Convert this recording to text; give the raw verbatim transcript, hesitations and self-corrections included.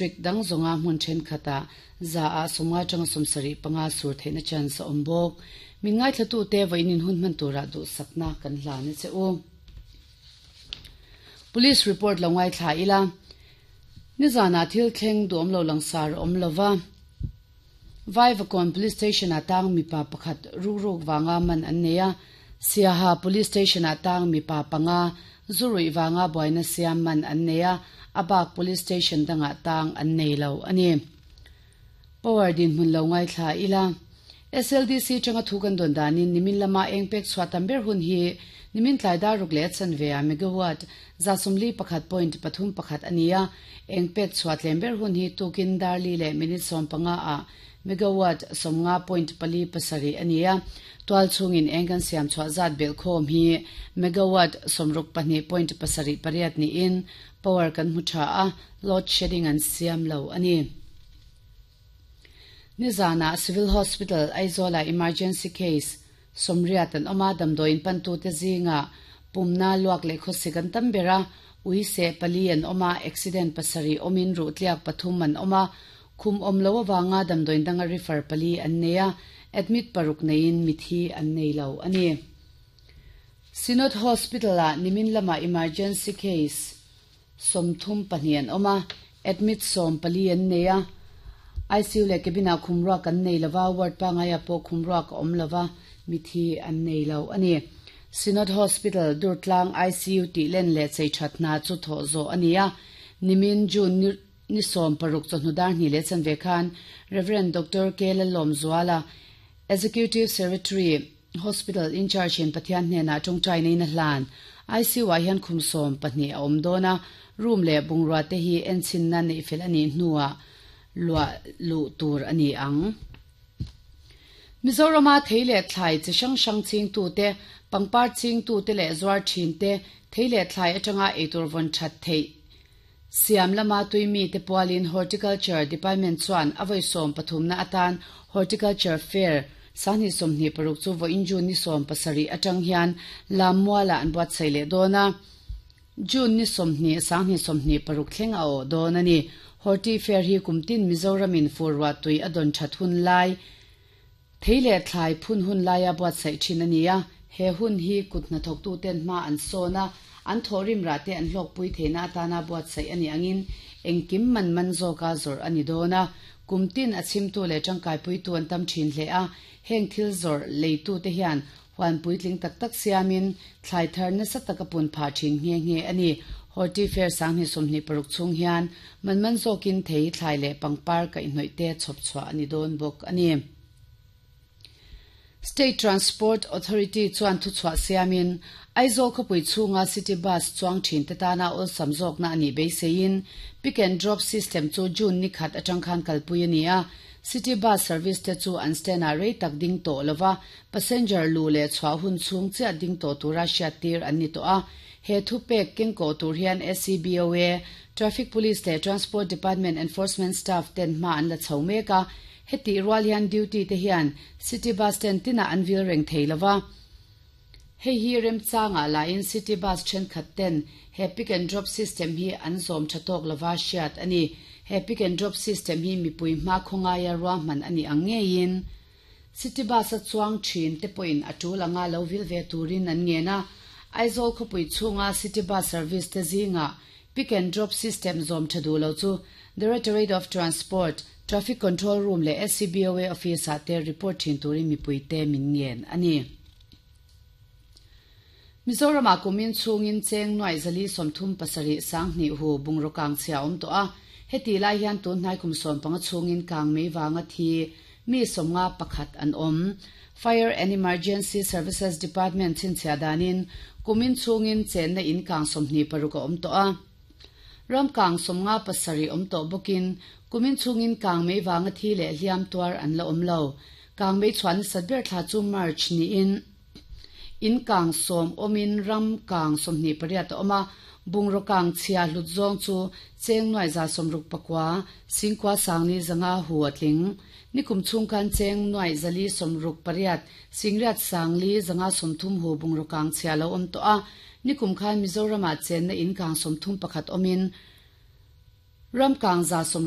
District dang zawnga hmun thenkhatah za ah sawmnga atanga sawmsarih panga sur theihna chance a awm bawk. Min ngaithlatute vawiin hun hman turah duhsakna kan hlan a che u. Police report lo ngaithla ila. Nizana thil thleng duhawm lo langsar a awm lova. Vaivakawn Police Station ah tang mipa pakhat rukruk vanga man an nei a. Siaha Police Station ah tang mipa panga zuruih vanga buaina siam man an nei a. A bak Police Station dangah tang an nei lo a ni. Power dinhmun lo ngaithla ila. S L D C atanga thu kan dawn danin nimin lama eng pek chhuah tam ber hun hi nimin tlai dar ruk leh a chanve ah megawatt za sawmli pakhat point pathum pakhat a ni a. Eng pek chhuah tlem ber hun hi tukin dar li leh minute sawm panga ah megawatt sawmnga point pali pasarih a ni a. Tual chhungin eng kan siam chhuah zat belhkhawm hi megawatt sawmruk pahnih point pasarih pariat niin power kan hmu tha a, load shedding an siam lo a ni. Nizanah Civil Hospital Aizawlah emergency case sawmriat an awm a, damdawiin pantute zingah pumna luak leh khawsik an tam ber a, ui seh pali an awm a, accident pasarih awmin ruhtliak pathum an awm a, khum awm lo avanga damdawiin danga refer pali an nei a, admit paruk neiin mithi an nei lo a ni. Synod Hospital-ah nimin lama emergency case sawmthum pahnih an awm a, admit sawm pali an nei a, I C U leh cabin-ah khumruak an nei lova, ward pangaiah pawh khumruak a awm lova, mithi an nei lo a ni. Synod Hospital Durtlang I C U tih len leh chei that hna chu thawh zawh a ni a, nimin June ni ni sawm paruk chawhnu dar hnih leh chanve khan Rev. Doctor K Lalawmzuala, Executive Secretary, Hospital in charge in Pathian hnenah tawngtai neiin a hlan. I C U ah hian khum sawm pahnih a awm dawn a, room leh bungrua te hi enchinna neih fel a nih hnuah luah luh tur a ni ang. Mizorama thei leh thlai chi hrang hrang chingtute, pangpar chingtute leh zuar thinte, thei leh thlai atanga eitur vawn that theih siam lama tuimi te pualin Horticulture Department chuan a vawi sawm pathumna atan Horticulture Fair sanghnih sawmhnih paruk chu vawiin June ni sawm pasarih atang hian Lammualah an buatsaih leh dawn a. June ni sawmhnih sanghnih sawmhnih paruk thleng a awh dawn a ni. Horti Fair hi kumtin Mizoramin fur ruah tui a dawn that hun lai, thei leh thlai phun hun laia buatsaih thin a ni a. He hun hi kut hnathawktuten hma an sawn a, an thawhrim rah te an hlawkpui theihna atana buatsaih a nih angin engkim man man zawka zawrh a ni dawn a. Kumtin a chhimtu leh tangkaipuitu an tam thin hle a, heng thil zawrh leitute hian huan puitling tak tak siamin thlai thar nasa taka pun phah thin nghe nghe a ni. Horti Fair sanghnih sawmhnih paruk chhung hian man man zawkin thei, thlai leh pangpar kaihhnawih te chhawp chhuah a ni dawn bawk a ni. State Transport Authority chuan thuchhuah siamin Aizawl khawpui chhunga city bus chuang thin te tana awlsam zawkna a nih beiseiin pick and drop system chu June ni khat atang khan kalpui a ni a. City bus service te chu an stand ah rei tak ding tawh lova, passenger lu leh chhuah hun chhung chiah ding tawh tura hriat tir an ni tawh a. He thupek kengkawh tur hian S C B O A, Traffic Police leh Transport Department enforcement staff ten hma an la chho mek a. Heti rual hian duty te hian city bus stand tinah an vil reng thei lova. Hei hi remchangah lain city bus thenkhat ten he pick and drop system hi an zawm tha tawk lova hriat a ni. He pick and drop system hi mipui hma khawngaia ruahman a ni ang ngeiin city bus a chuang thin te pawhin a tul anga lo vil ve turin an ngen a. Aizawl khawpui chhunga city bus service te zingah pick and drop system zawm tha duh lo chu Directorate of Transport, Traffic Control Room leh S C B O A office ah te report thin turin mipui te min ngen a ni. Mizorama kumin chhungin cheng nuai zali sawmthum pasarih sanghnih hu bungraw kang chhia awm tawh a. Heti lai hian tun hnai kum sawm panga chhungin kang mei vanga thi mi sawmnga pakhat an awm. Fire and Emergency Services Department chhinchhiah danin kumin chhungin chenna in kang sawmhnih paruk a awm tawh a. Ram kang sawmnga pasarih awm tawh bawkin kumin chhungin kang mei vanga thi leh hliam tuar an la awm lo. Kang mei chhuah nasat ber thla chu March niin in kang sawm awmin ram kang sawmhnih pariat a awm a. Bungraw kang chhia hlut zawng chu cheng nuai za sawmruk pakua singkua sangli zanga hu a tling. Nikum chhung khan cheng nuai zali sawmruk pariat singriat sangli zanga sawmthum hu bungraw kang chhia lo awm tawh a. Nikum khan Mizorama chenna in kang sawmthum pakhat awmin ram kang za sawm